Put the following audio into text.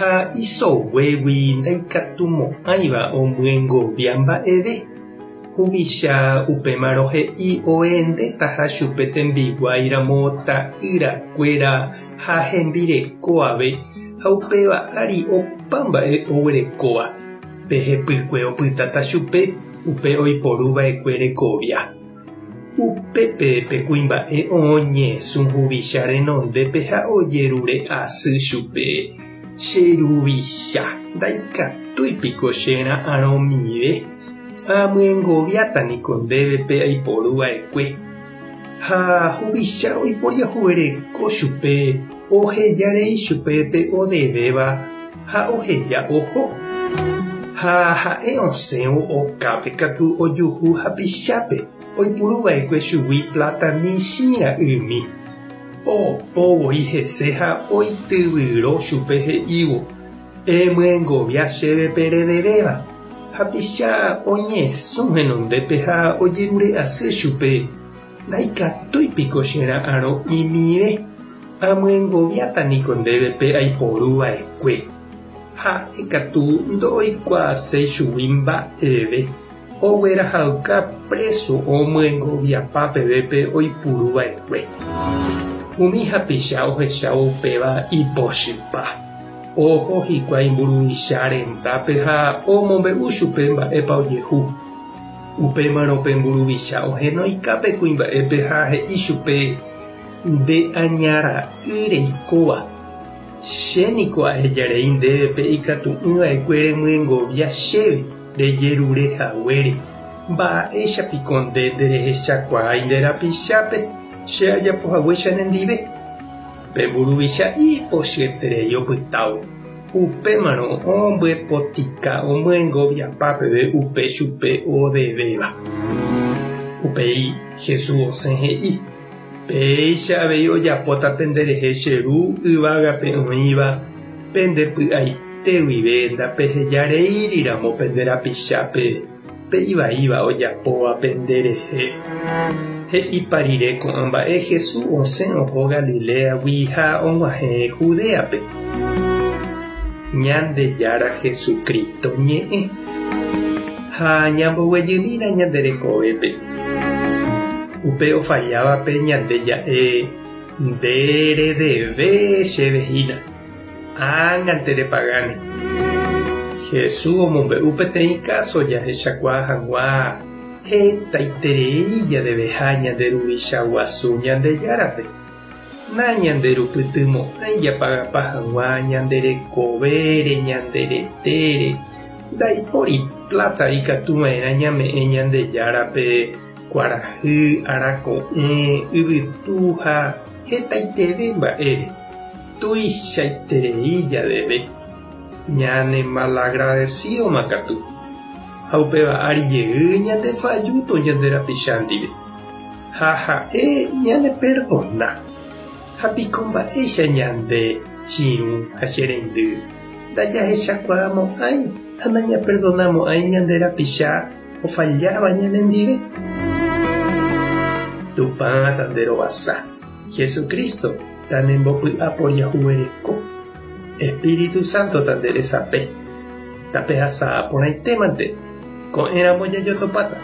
Ha isoguégui ndaikatumo'ãiva omyengovia mba'eve. Huvicha upémarõ he'i oendetaha chupe tembiguái ramo ta'ýra kuéra ha hembireko ave, ha upéva ári opa mba'e oguerekóva. Pe hepykue opytáta chupe upe oiporu va'ekue rekovia. Upépe pe kuimba'e oñesũ huvicha renondépe ha ojerure asy chupe, Che ruvicha, ndaikatúi piko che ra'arõmive, amyengoviáta niko ndéve pe aiporu va'ekue. Ha huvicha oiporiahuvereko chupe, oheja rei chupe pe odevéva ha oheja oho. Ha ha'e osẽvo okápe katu ojuhu hapichápe oipuru va'ekue chugui pláta michĩ ra'ymi. Opo voi hese ha oityvyro chupe he'ívo, Emyengovia chéve pe redevéva. Hapicha oñesũ henondépe ha ojerure asy chupe, Ndaikatúi piko che ra'arõ imive, amyengoviáta niko ndéve pe aiporu va'ekue. Ha'e katu ndoikuaaséi chugui mba'eve, oguerahauka préso omyengoviapa peve pe oipuru va'ekue. Umi hapicha ohechávo upéva ipochypa. Oho hikuái mburuvicha rendápe ha omombe'u chupe mba'épa ojehu. Upémarõ pe mburuvicha ohenoika pe kuimba'épe ha he'i chupe, Nde aña ra'y reikóva, che niko ahejarei ndéve pe ikatu'ỹ va'ekue remyengovia chéve rejerure haguére. Mba'éicha piko nde nderehechakuaái nde rapichápe che ajapo haguéicha nendive? Pe mburuvicha ipochyeterei opytávo. Upémarõ ombyepotika omyengoviapa peve upe chupe odevéva. Upéi Jesús osẽ he'i, Péicha avei ojapóta penderehe che Ru yvágape oĩva, pende py'aite guive ndapeheja reíri ramo pende rapichápe pe ivaíva ojapóva penderehe. He'ipa rire ko'ã mba'e Jesús osẽ oho Galiléagui ha og̃uahẽ Judéape. Ñandejára Jesucristo ñe'ẽ. Ha ñamboguejymína ñande rekovépe. Upe ofallávape ñande ja'e, Nde redeve chéve hína. Ág̃ante repagáne. Jesús omombe'u peteĩ káso jahechakuaa hag̃ua hetaiterei jadeveha ñande Ruvicha Guasu Ñandejárape. Nañanderupytymo'ãi japagapa hag̃ua ñande rekovére, ñande retére. Ndaipóri pláta ikatuva'erã ñame'ẽ Ñandejárape kuarahy, arako'ẽ, yvytu ha hetaiteve mba'ére. Tuichaiterei jadeve, ñanemalagradesídoma katu, ha upéva ári jey ñandefajúto ñande rapicha ndive, ha ha'e ñaneperdona. Ha piko mba'éicha ñande, che irũ ha che reindy, ndajahechakuaamo'ãi ha nañaperdonamo'ãi ñande rapicha ofalláva ñanendive? Tupã tanderovasa. Jesucristo tanembopy'a poriahuvereko, Espíritu Santo tande resape, tapehasa porãitémante, ko'ẽramo jajotopáta.